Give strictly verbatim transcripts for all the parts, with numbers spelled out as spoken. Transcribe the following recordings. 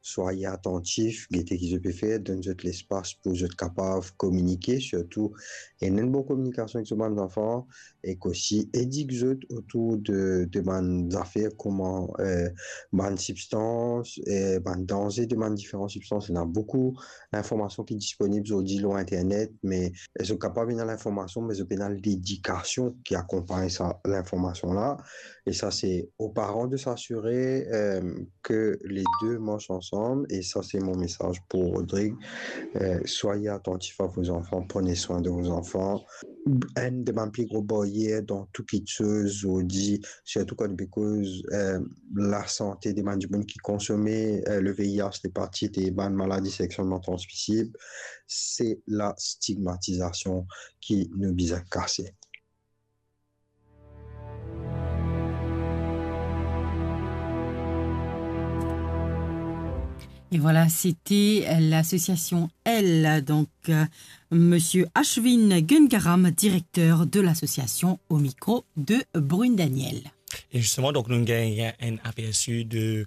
Swaye atantif, gete ki zot pe fer, donn zot lespas pou zot kapav kominike, sirtou ena enn bon kominikasion ek so bann zanfan, ek osi edik zot otour de, de bann zafer kouma, eh, bann sibstans, eh, bann danze de bann diferan sibstans. Ena boukou linformasion ki disponib zordi lor internet, me zot kapav ena linformasion, me zot pena ledikasion ki akonpagn sa linformasion la. E sa, se o paran de s'asire, eh, ke le de mars ansam, e sa, se mo mesaz pou Rodrigue. Eh, swaye atantif a vo zanfan, prenez swin de vo zanfan. Enn de bann pli gro baryer dan tou kitsoz zordi, sirtou kan nou pe koz, eh, lasante de bann dimoun ki konsome, eh, le V I H, lepatit e bann maladi sekselman transmisib, se lastigmatizasion ki nou bizin kase. Et voilà, c'était l'association Elle, donc, euh, Monsieur Ashwin Gungaram, directeur de l'association, au micro de Brune Daniel. E zisteman, donk, nou gagn enn apersi de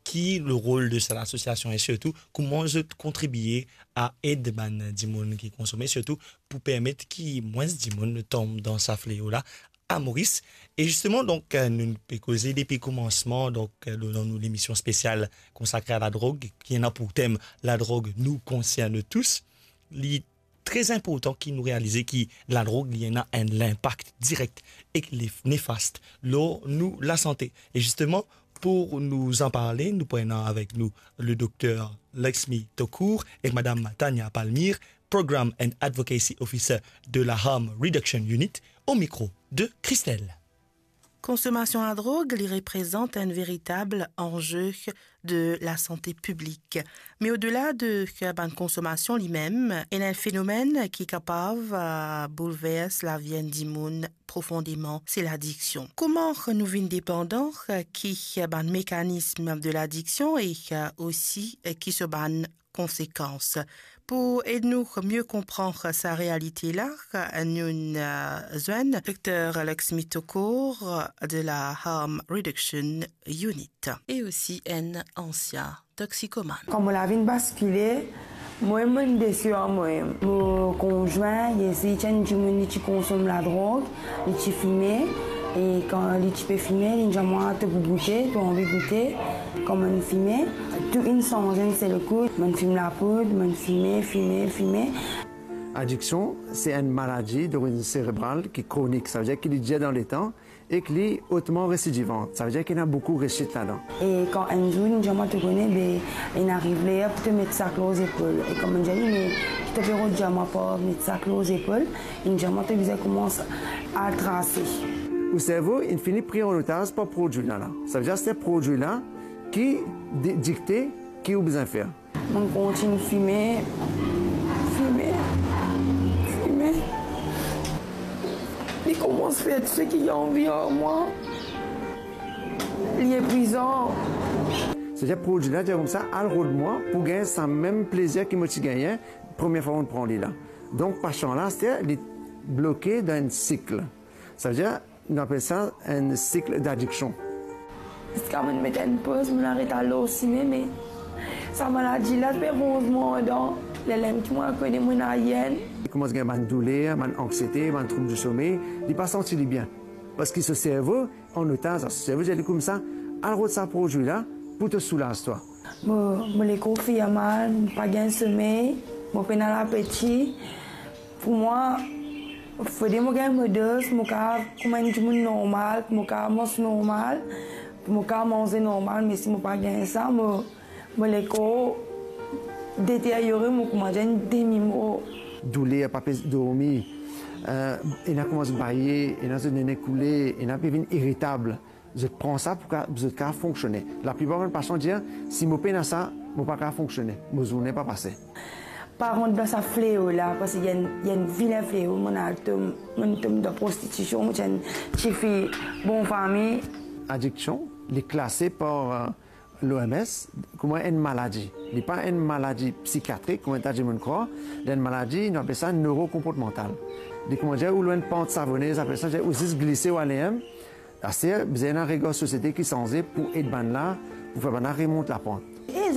ki lerol de sa lasosiasion e sirtou kouma zot kontribie a ed bann dimoun ki konsome, sirtou pou permet ki mwins dimoun tonm dan sa fleo la a Moris. E zisteman, donk, euh, nou pe koze depi koumansman, donk, euh, dan nou lemision spesial konsakre a ladrog, ki ena pou tem "Ladrog nous concerne tous". Li tre inportan ki nou realize ki ladrog, li ena enn linpak direk ek li nefast lor nou lasante. E zisteman, pou nou anparle, nou pou ena avek nou le dokter Laxmi Tokour ek madam Tanya Palmyre, Program and Advocacy Officer de la Harm Reduction Unit, o mikro de Christelle. Konsomasion ladrog, li reprezant enn veritab anze de lasante piblik. Me odela de bann konsomasion limem, ena enn fenomenn ki kapav, euh, boulvers lavi enn dimoun profondeman, se ladiksion. Kouma nou vinn depandan, ki bann mekanism de ladiksion e, euh, osi, euh, ki so bann konsekans. Pou ed nou mie konpran sa realite la, nou, euh, zwenn dokter Laxmi Tokour de la Harm Reduction Unit e osi enn ansien toxicomane. Kan mo lavi inn baskile, mwa, mo inn desi ar mwa. Mo konzwin, li ti enn dimoun, li ti konsom ladrog, li ti fime, e kan li ti pe fime, li dir mwa, "To pou goute, to anvi goute?" Kan mo'nn fime, tou inn sanze enn sel kou. Mo'nn fim lapoud, mo'nn fime, fime, fime. Adiksion, se enn maladi dorizinn serebral ki kronik, savedir ki li dir dan letan ek li otman residivan, savedir ki ena boukou resit ladan. E kan enn zour, li dir mwa, "To kone, be, inn ariv ler pou to met sak lor zepol." E kan mo'nn dir li, "Me ki to pe rod dir mwa par met sak lor zepol?" Li dir mwa, "To bizin koumans al trase." Ou servo inn fini pri an otaz par prodwi la la. Savedir se prodwi la ki di-, dikte ki ou bizin fer. Mo'nn kontign fime, fime, fime. Li koumans fer tou seki li anvi ar mwa. Li epwizan. Savedir prodwi la dir koumsa, "Al rod mwa pou gagn sa mem plezir ki mo ti gagne premie fwa mo'nn pran li la." Donk, pasian la, savedir li bloke dan enn sik. Savedir, nou apel sa enn sik d'adiksion. Ziska mo'nn met enn poz, mo'nn aret al lor sime, me sa maladi la ti pe ronz mwa andan. Lerla mem ki mwa kone mo ena enn. Li koumans gagn bann douler, bann anksiete, bann troub di somey, li pa santi li bien. Parski so servo an otaz, so servo dir li koumsa, "Al rod sa prodwi la pou to soulaz twa." Mo, mo lekor fer mal, mo pa gagn somey, mo pena lapeti. Pou mwa, fode mo gagn mo doz, mo kapav kouma enn dimoun normal, mo kapav manz normal, mo kapav manze normal, me si mo pa gagn sa, mo, mo lekor deteryore, mo kouma enn demi mor. Douler, pa pe dormi, eh, ena koumans baye, ena zot nene koule, ena pe vinn iritab. Zot pran sa pou ka, zot kapav fonksione. Laplipar bann pasian dir, "Si mo pena sa, mo pa kapav fonksione, mo zourne pa pase." Pa rant dan sa fleo la, parski li enn, li enn vilin fleo, mo'nn al tom, mo'nn tom dan prostitision, mo ti enn tifi bon fami. Adiksion, li klase par, eh, l'O M S kouma enn maladi. Li pa enn maladi psikiatrik, kouma enn ta dimoun krwar, li enn maladi, nou apel sa neurokonportmantal. Li, koumadir, ou lor enn pant savonez, apel sa, ou zis glise, ou ale, hein. Aster, bizin ena regar sosiete ki sanze pou ed bannla, pou fer bannla remont lapant. E